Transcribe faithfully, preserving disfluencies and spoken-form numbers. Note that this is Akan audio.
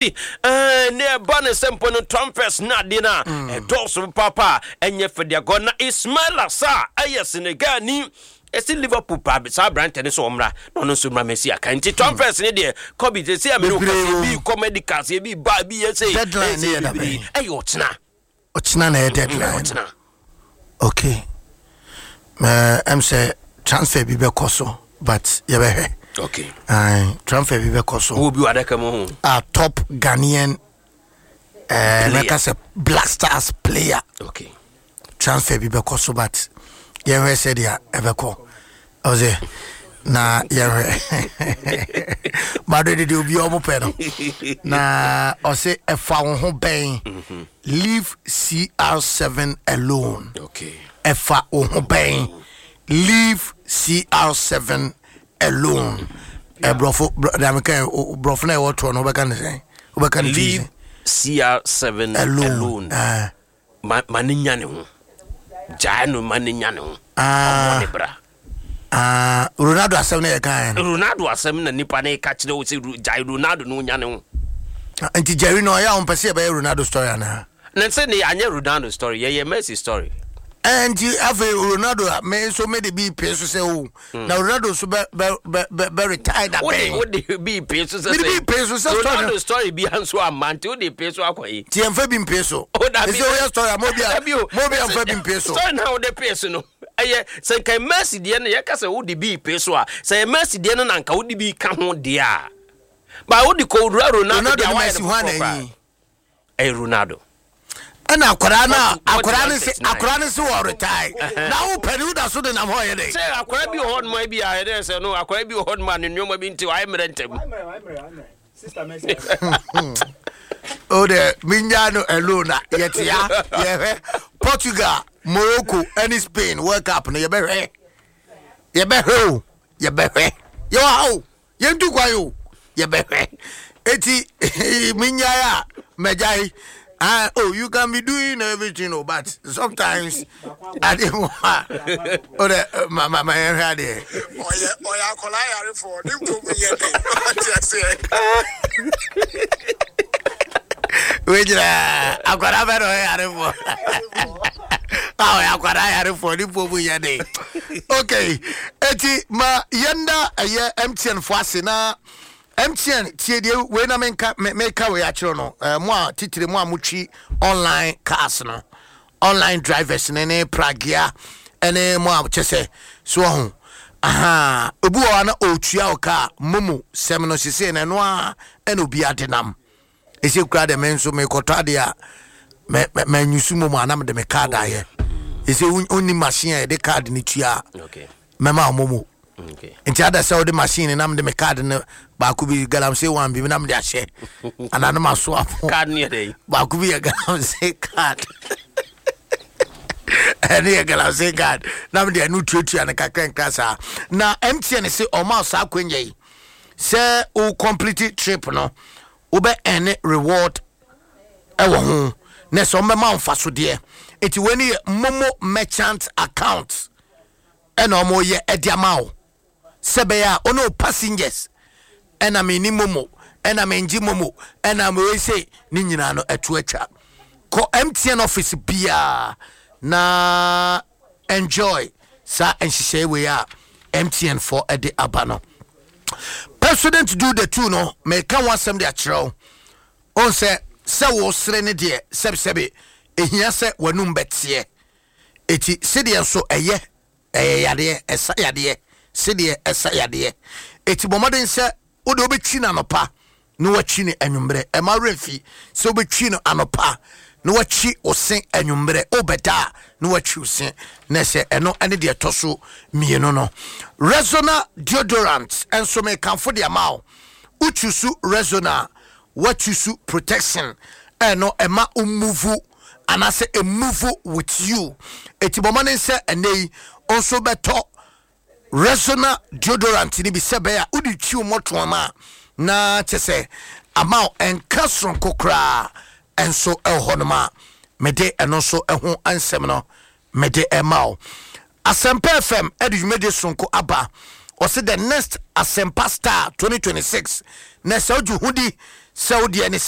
Ne ɛba ne sɛ mpo no trumpets na adeɛ no a ɛdɔɔso papa a ɛnyɛ fɛdeagɔ na Ismaila Sarr ɛyɛ Senegal ni ɛsi Liverpool pa saa aberantɛ no sɛ ɔmmra na ɔno nso mmra mɛsi aka. Nti trumpets ne deɛ kɔbi sɛ sɛ amene wokasɛ bi kɔ medicals, ebi ba, ebi yɛ sɛ Deadline ne yɛ da bɛn? Ɛyɛ ɔkyena. Ɔkyena na ɛyɛ deadline? Ɔkyena. Okay, ɛm sɛ transfer bi bɛkɔ so, but yɛbɛhwɛ. Okay. Aye, transfer bi bɛkɔ so. Wo bi wɔ adaka mu ho? A top Ghanaian uh, mɛka sɛ Black Stars player. Okay transfer bi bɛkɔ so, but yɛhwɛ sɛdeɛ ɛbɛkɔ. Ɔsɛ na yɛhwɛ Madrid de obi a ɔmo pɛ no na ɔsɛ ɛfa wo ho bɛn, leave C R seven alone. Okay ɛfa wo ho bɛn, leave C R seven alone. Ɛborɔfo dameka, borɔfo no a ɛwɔ toɔ no, wobɛka ne sɛn? Wobɛka ne Leave C R seven alone. Alone. Ah. ma ma ne nya ne ho, gyae no ma ne nya ne ho. Ah. Ɔmmɔ ne bra. Ah, Ronaldo asɛm no yɛ kaɛ no. Ronaldo asɛm na nipa ne ka kyerɛ wo sɛ Ro- gyae Ronaldo no nya ne ho. Nti Jerry no ɔyɛ a wompɛ sɛ yɛbɛyɛ Ronaldo story anaa? Na sɛ ne anyɛ Ronaldo story, yɛyɛ Messi story. Eh, nti afei Ronaldo a me nso mede bi pee so sɛ o na Ronaldo nso bɛ bɛ bɛ bɛ bɛ retire da wode bɛn? Wode bi pee so sɛ Mede sɛ bi pee so sɛ story no- Ronaldo story bia nso amma, nti wode pee so akɔ yi. Nti yɛmfa bi mpee so. Oh, dabi. Ɛsɛ woyɛ story a mo bi a Dabi o. mo bi a mfa bi mpee so. Story na wode pee so no, ɛyɛ sɛ nka Messi deɛ no, yɛka sɛ wode bi pee so a, sɛ yɛ Messi deɛ no na nka wode bi ka ho deɛ a, ba wode kɔwura Ronaldo Ronaldo deɛ a ne wayɛ Messi no ho ana foforɔ koraa. anyi? Ɛyɛ Ronaldo. Ɛna akwaraa no a akwaraa no se forty-one thirty-nine. Akwaraa no se wɔ retire na wo pɛ ne woda so de nam hɔ yɛ dɛ. Sɛ akwaraa bi wɔ hɔ noma bi a ɛdɛ sɛ no akwaraa bi wɔ hɔ noma a ne nneɛma bi nti wayɛ mmerɛ ntɛm. Sister Mercy. O de menya no alone na yɛte ha yɛhwɛ Portugal, Morocco ɛne Spain World Cup no. Yɛbɛhwɛ, yɛbɛhwɛ o, yɛbɛhwɛ. Yɛwɔ ha o, yɛntu kwan o, yɛbɛhwɛ. Eti menyae a mɛgyae. Ah, oh, you can be doing everything o, but sometimes ade mu a o de ma ma ma yɛhwɛ adeɛ. ɔyɛ ɔyɛ akwadaa yarefoɔ ne mpom yɛ den, ɔte aseɛ. Wei gyina akwadaa bɛ na ɔyɛ yarefoɔ a ɔyɛ akwadaa yarefoɔ ne mpo mu yɛ den. Okay, eti ma yɛnda ɛyɛ M T N fo ase na M T N tie deɛ wei na menka me meka wei akyerɛ no. ɛɛ mo a titire mo a motwi online cars no, online drivers ne ne pragea ɛne mo a kyɛ sɛ so ɔho aha obi wɔ hɔ a na ɔretua wo kaa momo sɛm no sesei no, ɛno a ɛna obi ade nam ɛsɛ kura de. Me nso mekɔtɔ adeɛ a mɛ mɛ manyusu momo a na mede me card ayɛ. Ɛsɛ wonni machine a yɛde card no tua a okay mɛma wo momo. Okay nti ada sɛ wode machine na mede me card no baako bi, galamsey one bi na mede ahyɛ anaa no maso apo. Card ne yɛ dɛn? Baako bi yɛ galamsey card, ɛne yɛ galamsey card na mede ɛno tuatua no kakra nkra saa. Na M T N se ɔma wo saa akwanya yi sɛ wo complete trip no, wobɛ ɛne reward ɛwɔ ho na sɛ ɔmbɛma wo mfasodeɛ. Nti wei ne yɛ MoMo merchant account ɛna ɔmoyɛ ɛde ama wo sɛ bɛyɛ a ɔne wo passengers ɛna menni MoMo ɛna mengye MoMo ɛna mewei se ne nyinaa no ɛto atwa. Kɔ M T N office biaa na enjoy saa nhyehyɛe wei a M T N fɔ ɛde aba no. President do the two no, meka ho asɛm de akyerɛ wo. Ɔn sɛ sɛ wo sere ne deɛ sɛbesɛbe ɛhia sɛ w'anum bɛteɛ. Eti sedeɛ nso ɛyɛ ɛyɛ yadeɛ, ɛsa yadeɛ, sedeɛ ɛsa yadeɛ. Eti bɔ mmɔden sɛ wode wobɛtwi no anɔpa na watwi no anwummerɛ. Ɛma werɛ fi sɛ wobɛtwi no anɔpa na watwi wo se anwummerɛ, wobɛda a na watwi wo se. Na sɛ ɛno ɛne deɛ ɛtɔ so mmienu no, Rexona deodorant ɛnso mekamfo de ama wo. Wotwi so Rexona a, watwi so protection. Ɛno ɛma wo move anaasɛ ɛmove with you. Eti bɔ mmɔden sɛ ɛnɛ yi nso bɛtɔ Rexona deodorant ni bi sɛ bɛyɛ a wode twi wo mmɔtoam a na kyɛ sɛ ama wo ɛnka soronko koraa. Ɛnso ɛwɔ hɔnom a mede ɛno nso ɛho nsɛm no mede ɛma wo. Asɛmpa F M ɛde dwumadie soronko aba. Ɔse the next Asɛmpa Star twenty twenty-six na sɛ wogye ho di sɛ wodeɛ ne sɛ